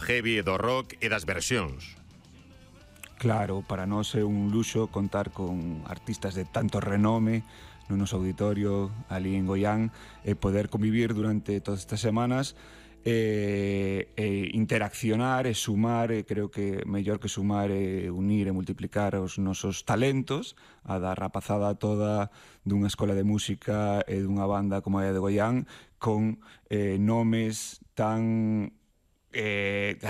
heavy e do rock e das versións. Claro, para nós é un luxo contar con artistas de tanto renome no noso auditorio ali en Goián e poder convivir durante todas estas semanas e interaccionar e sumar, e creo que mellor que sumar é unir e multiplicar os nosos talentos, a da rapazada toda dunha escola de música e dunha banda como a de Goián, con nomes tan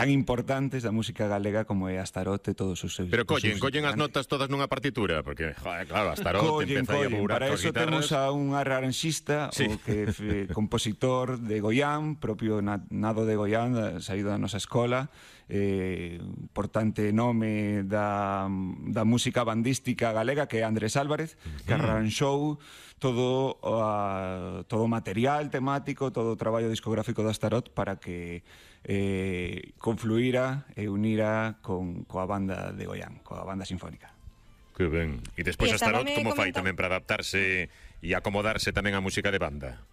importantes da música galega como é Astaroth e todos os seus... Pero collen as notas todas nunha partitura, porque, joder, claro, Astaroth empeza a bourar para coas eso guitarras. temos a un arranxista, sí, o que compositor de Goián, propio nado de Goián, saído da nosa escola, importante nome da música bandística galega, que é Andrés Álvarez, que arranxou todo o material temático, todo o traballo discográfico de Astaroth para que confluíra e unira coa banda de Goián, coa banda sinfónica. Que ben. E despois E Astaroth como fai comentan... tamén para adaptarse e acomodarse tamén á música de banda?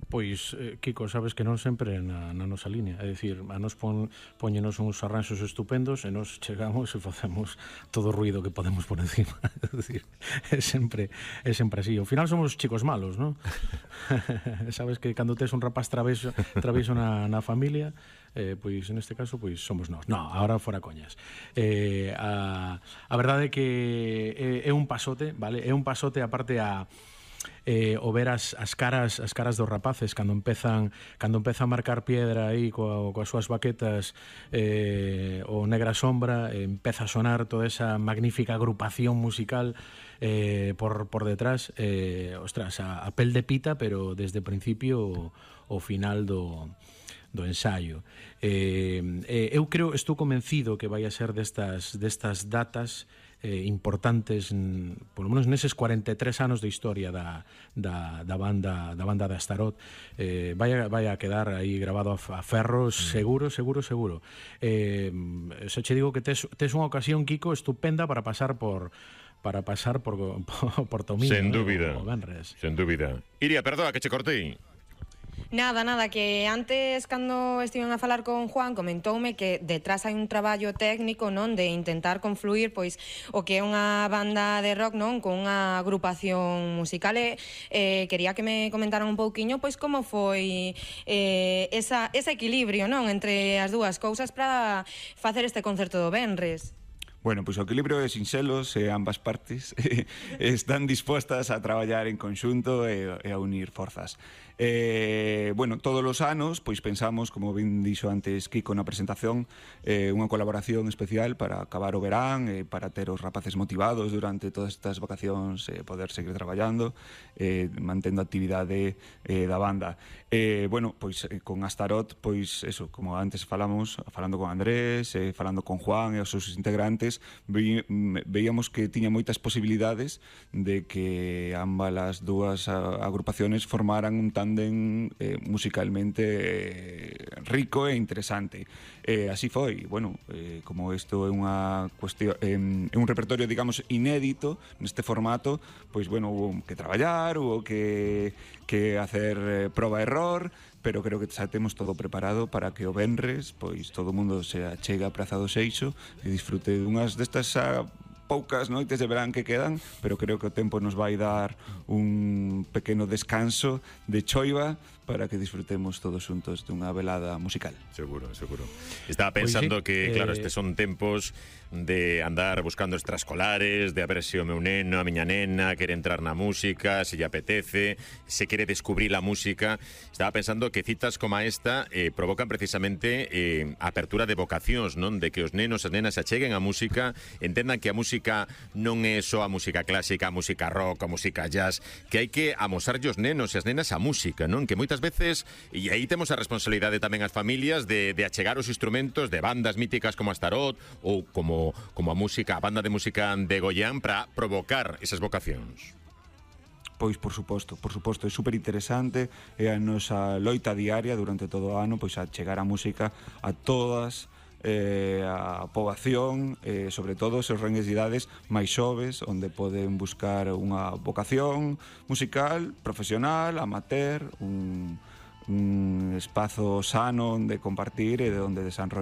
Pois, Kiko, sabes que non sempre na nosa línea. É dicir, a nos poñenos uns arranxos estupendos e nos chegamos e facemos todo o ruido que podemos por encima. É dicir, é sempre así. Ao final somos chicos malos, non? Sabes que cando tes un rapaz traveso na familia, pois neste caso pois somos nós. No, ahora fora coñas. A verdade é que é un pasote, vale? É un pasote aparte o ver as caras dos rapaces cando empeza a marcar piedra aí coas súas baquetas, o Negra Sombra, empeza a sonar toda esa magnífica agrupación musical por detrás, ostras, a pel de pita, pero desde o principio ao final do ensaio. Eu creo, estou convencido que vai a ser destas datas importantes, polo menos neses 43 anos de historia da banda de Astaroth. Vai a quedar aí grabado a ferro, seguro. Se che digo que tes unha ocasión, Kiko, estupenda para pasar por Tomino. Sen dúbida. O Benres. Sen dúbida. Iria, perdoa que che cortei. Nada, que antes cando estiven a falar con Juan comentoume que detrás hai un traballo técnico, non, de intentar confluir pois o que é unha banda de rock, non, con unha agrupación musical quería que me comentaran un pouquiño pois como foi ese equilibrio, non, entre as dúas cousas para facer este concerto do Venres. Bueno, pois o equilibrio é sinxelo se ambas partes están dispostas a traballar en conxunto e a unir forzas. Bueno, todos os anos pois pensamos, como ben dixo antes Kiko na presentación, unha colaboración especial para acabar o verán, para ter os rapaces motivados durante todas estas vacacións, poder seguir traballando, mantendo a actividade da banda. Bueno, pois con Astaroth, pois eso, como antes falando con Andrés, falando con Juan e os seus integrantes, veíamos que tiña moitas posibilidades de que ambas as dúas agrupaciones formaran un tándem musicalmente rico e interesante. Así foi, bueno, como isto é unha cuestión, é un repertorio, digamos, inédito neste formato, pois, bueno, hubo que traballar, hubo que hacer proba-error, pero creo que xa temos todo preparado para que o venres, pois, todo o mundo se achega a Praza do Seixo e disfrute dunhas destas poucas noites de verán que quedan, pero creo que o tempo nos vai dar un pequeno descanso de choiva para que disfrutemos todos xuntos dunha velada musical. Seguro. Estaba pensando que, claro, estes son tempos de andar buscando extraescolares, de a ver se o meu neno, a miña nena quere entrar na música, se lle apetece, se quere descubrir a música. Estaba pensando que citas como esta provocan precisamente a apertura de vocacións, non? De que os nenos e as nenas se acheguen á música, entendan que a música non é só a música clásica, a música rock, a música jazz, que hai que amosarlle os nenos e as nenas a música, non? Que moitas veces, e aí temos a responsabilidade tamén as familias de achegar os instrumentos de bandas míticas como Astaroth ou como a música, a banda de música de Goián para provocar esas vocacións. Pois, por suposto, é super interesante, é a nosa loita diaria durante todo o ano, pois a chegar a música a todas a poboación, sobre todo os rangues de idades máis xoves, onde poden buscar unha vocación musical, profesional, amateur, un espazo sano onde compartir e onde desarrollar